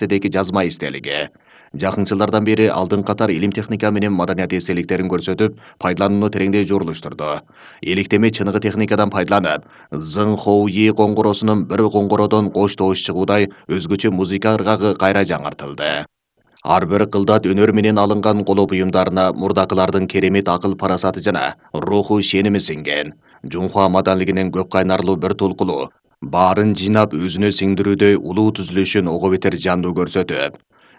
Тедеки жазма эстелиги. Жакынчылардан бери алдын катар илим техника менен маданият эстеликтерин көрсөтүп, пайдаланууну тереңдей жорулуштурду. Эликтеме чыныгы техникадан пайдаланып, Зың Хоуи коңгуросунун bir коңгородон кош добуш чыгуудай өзгөчө музыка ыргагы кайра жаңыртылды. Ар бир кылдат өнөр менен алынган коло буюмдарына мурдакылардын керемет акыл парасаты жана руху шеними сиңген. Жунхуа маданлигинин көп кайнарлуу бир тулкулу баарын жыйнап өзүнө сиңдирүүдө улуу түзүлүшүн ого бетер жандуу көрсөтүп,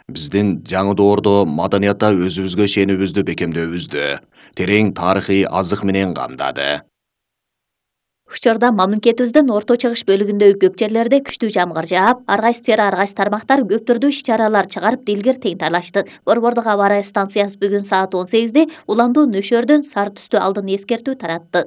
биздин жаңы доордо маданиятта өзүбүзгө шенибизди бекемдөөнүздү терең тарыхый азык менен камдады. Учурда мамлекетибиздин орто чыгыш бөлүгүндөгү көп жерлерде күчтүү жамгыр жаап, ар кайсы тармактар көп түрдүү иш-чаралар чыгарып дилгир тең талашты. Борбордук аба ырайы станциясы бүгүн саат 18-де уландуу нөшөрдөн сары түстүү алдын эскертүү таратты.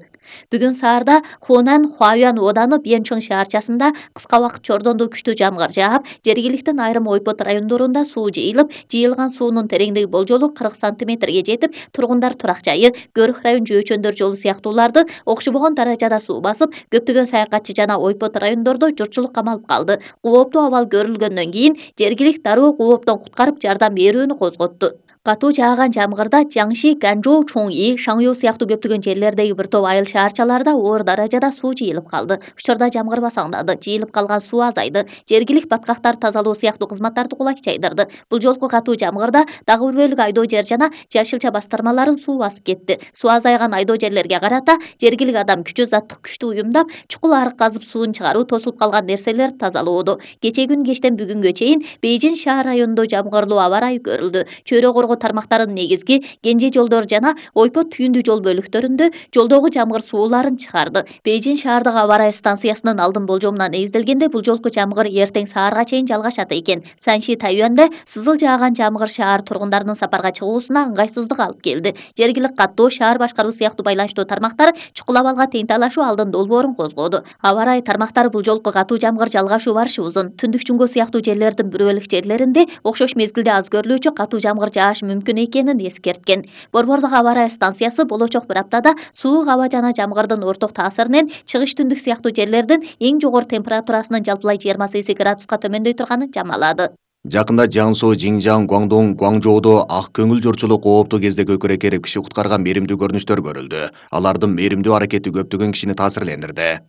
Бүгүн саарда Хунан Хуаюан ооданы Бьенчон шаарчасында кыска убакыт чордондуу күчтүү жамгыр жаап, жергиликтин айрым ойпот райондорунда суу жыйылып, жыйылган суунун тереңдиги болжолу 40 сантиметрге жетип, тургундар турак жайы, Көрүх район жөөчөндөр жолу сыяктууларды окшобогон даражада суу басып, көптөгөн саякатчы жана ойпот райондордо журтчулук камалып калды. Кооптуу абал көрүлгөндөн кийин жергилик дароо кооптон куткарып жардам берүүнү козготту. Катуу жааган жамгырда Жаңши, Ганжоу, Чоңи, Шаңю сыяктуу көптөгөн жерлердеги бир топ айыл шаарчаларда оор даражада суу жыйылып калды. Учурда жамгыр басаңдады, жыйылып калган суу азайды. Жергилик баткактар тазалоо сыяктуу кызматтарды кулай чайдырды. Бул жолку катуу жамгырда дагы бир бөлүк айдоо жер жана жашылча бастырмаларын суу басып кетти. Суу азайган айдоо жерлерге карата жергилик адам күчү заттык күчтү уюмдап, чукул арык казып сууну чыгаруу, тосулуп калган нерселерди тазалоодо. Кечээ күн кечтен бүгүнгө чейин Бейжин шаар районунда жамгырлуу аба ырайы көрүлдү. Чөйрө коргоо тармактарынын негизги кенже жолдор жана ойпот түйүндүү жол бөлүктөрүндө жолдогу жамгыр сууларын чыгарды. Бейжин шаардык аба ырайы станциясынын алдын болжомуна негизделгенде бул жолку жамгыр эртең саарга чейин жалгашат экен. Санши Тайюанда сызыл жааган жамгыр шаар тургундарынын сапарга чыгуусуна ыңгайсыздык алып келди. Жергилик каттоо, шаар башкаруу сыяктуу байланыштуу тармактар чукул абалга тең талашуу алдын долбоорун козгоду. Аба ырайы тармактары бул жолку катуу жамгыр жалгашуу барышы узун. Түндүк Чуңго сыяктуу жерлердин бир бөлүк жерлеринде окшош мезгилде аз көрүлүүчү катуу жамгыр жаашы мүмкүн экенин эскерткен. Борбордук аба ырайы станциясы болочок bir аптада суук аба жана жамгырдын орток таасиринен чыгыш түндүк сыяктуу жерлердин эң жогору температурасынын жалпылай 28 градуска төмөндөй турганын жамалады. Жакында Жаңсу, Жиңжаң, Гуаңдоң, Гуаңжоодо ак көңүл журчулук кооптуу кезде көкүрөк эрип киши куткарган мээримдүү көрүнүштөр көрүлдү. Алардын мээримдүү аракети көптөгөн кишини таасирлендирди.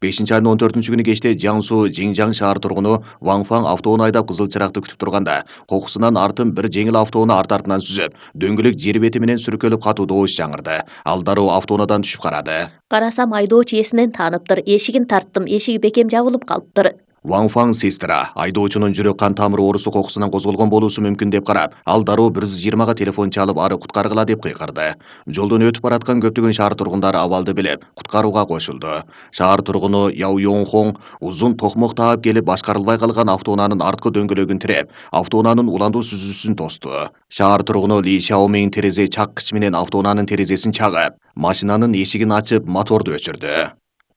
5-айдын 14-күнү кечте Жаңсу, Жиңжаң шаар тургуну Ваңфаң автоуну айдап кызыл чыракты күтүп турганда, кокусунан артын bir жеңил автоуну арт-артынан сүзөп, дөңгөлөк жер бети менен сүркөлүп катуу добуш жаңырды. Ал дароо автоунудан түшүп карады. Карасам айдоочу эсинен тааныптыр. Эшигин тарттым, эшиги бекем жабылып калыптыр. Ваңфаң сестра айдоочунун жүрөк кан тамыры оорусу кокусунан козголгон болуусу мүмкүн деп карап, ал дароо 120-га телефон чалып ары куткаргыла деп кыйкырды. Жолдон өтүп бараткан көптөгөн шаар тургундары абалды билип, куткарууга кошулду. Шаар тургуну Яо Йоңхон узун токмок таап келип башкарылбай калган автоунаанын арткы дөңгөлөгүн тиреп, автоунаанын уландуу сүзүүсүн тосту. Шаар тургуну Ли Шаомин терезе чаккыч менен автоунаанын терезесин чагып, машинанын эшигин ачып, моторду өчүрдү.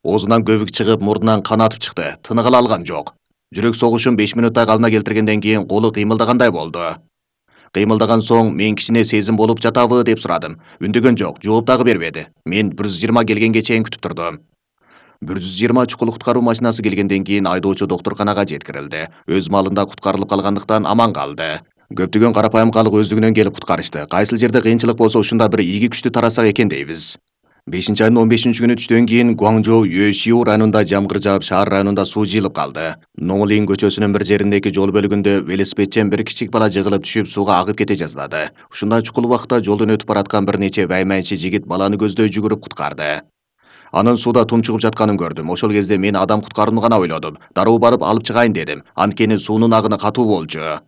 Оозунан көбүк чыгып, мурдунан кан атып чыкты. Тыныгыла алган жок. Жүрөк согушун 5 мүнөттөй калына келтиргенден кийин колу кыймылдагандай болду. Кыймылдаган соң мен кичине сезим болуп жатабы деп сурадым. Үндөгөн жок, жооп дагы бербеди. Мен 120 келгенге чейин күтүп турдум. 120 чукул куткаруу машинасы келгенден кийин айдоочу доктурканага жеткирилди. Өз малында куткарылып калгандыктан аман калды. Көптөгөн карапайым калк өздүгүнөн келип куткарышты. Кайсыл жерде кыйынчылык болсо ушунда бир ийги күчтү тарасак экен дейбиз. 5-айдын 15-күнү түштөн кийин Гуаңжоу Юэшиу районунда жамгыр жаап, шаар районунда суу жыйылып калды. Нолин көчөсүнүн bir жериндеги жол бөлүгүндө велосипедчен bir кичик бала жыгылып түшүп сууга агып кете жаздады. Ушундай чукул убакта жолдон өтүп бараткан bir нече вайманчы жигит баланы көздөй жүгүрүп куткарды. Анын сууда тумчугуп жатканын көрдүм. Ошол кезде мен адам куткарууну гана ойлодум. Дароо барып алып чыгайын дедим. Анткени суунун агыны катуу болчу.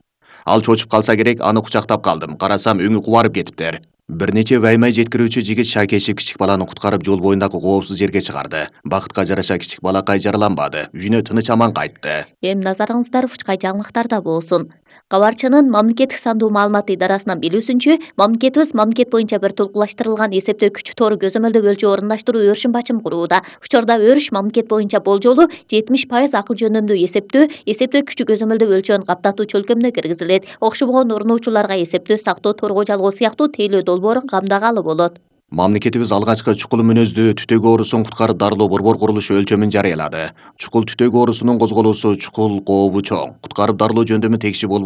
Ал чочуп калса керек, аны кучактап калдым. Карасам өңү кубарып кетиптир. Bir нече ваймай жеткирүүчү жигит шайкешип кичик баланы куткарып жол боюндагы коопсуз жерге чыгарды. Бакытка жараша кичик балакай жараланбады. Үйүнө тыныч аман кайтты. Эми назарыңыздар Фучкай жаңылыктарда болсун. Кабарчынын мамлекеттик сандуу маалымат идарасынан билүүсүнчө, мамлекетибиз мамлекет боюнча бир толукташтырылган эсептөө күчү тору көзөмөлдөө өлчөө орундаштыруу өрүшүн бачым курууда. Учурда өрүш мамлекет боюнча болжолу 70% акыл жөндөмдүү эсептөө күчү көзөмөлдөө өлчөөнү каптатуу чөлкөмүнө киргизилет. Окшобогон урунуучуларга эсептөө, сактоо, торгоо жалгоо сыяктуу тейлөө долбоорун камдагалы болот. Мамлекетибиз алгачкы чукул мүнөздүү түтөк оорусун куткарып дарылоо борбор курулушу өлчөмүн жарыялады. Чукул түтөк оорусунун козголуусу чукул кообу чоң. Куткарып дарылоо жөндөмү текши болбой